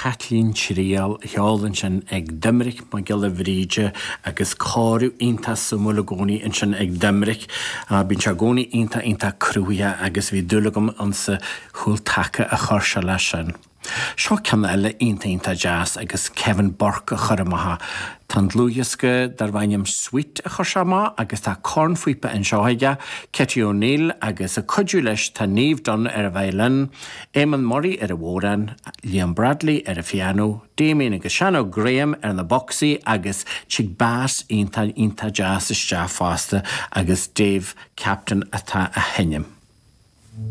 Caitlín Triail á cheol ansin ag Doiminic Mac Giolla Bhríde agus cóiriú iontach suimiúil i gcónaí ansin ag Doiminic. Bíonn sé i gcónaí iontach iontach cruthaitheach agus bhí dúil agam insa chúl taca a chuir sé leis sin. Seo ceann eile iontach iontach deas agus Kevin Burke a chuir amach é. Tá an dlúthdhiosca darb ainm Suite a chuir sé amach agus tá cornphíopa anseo aige, Katie O'Neill agus ag cuidiú leis tá Niamh Dunne ar an violin, Eamon Murray ar an bhodhrán, Liam Bradley ar an phianó, Damien agus Seán Óg Graham ar na bocsaí agus tig bass iontach iontach deas isteach fosta agus Dave Captain atá á sheinm.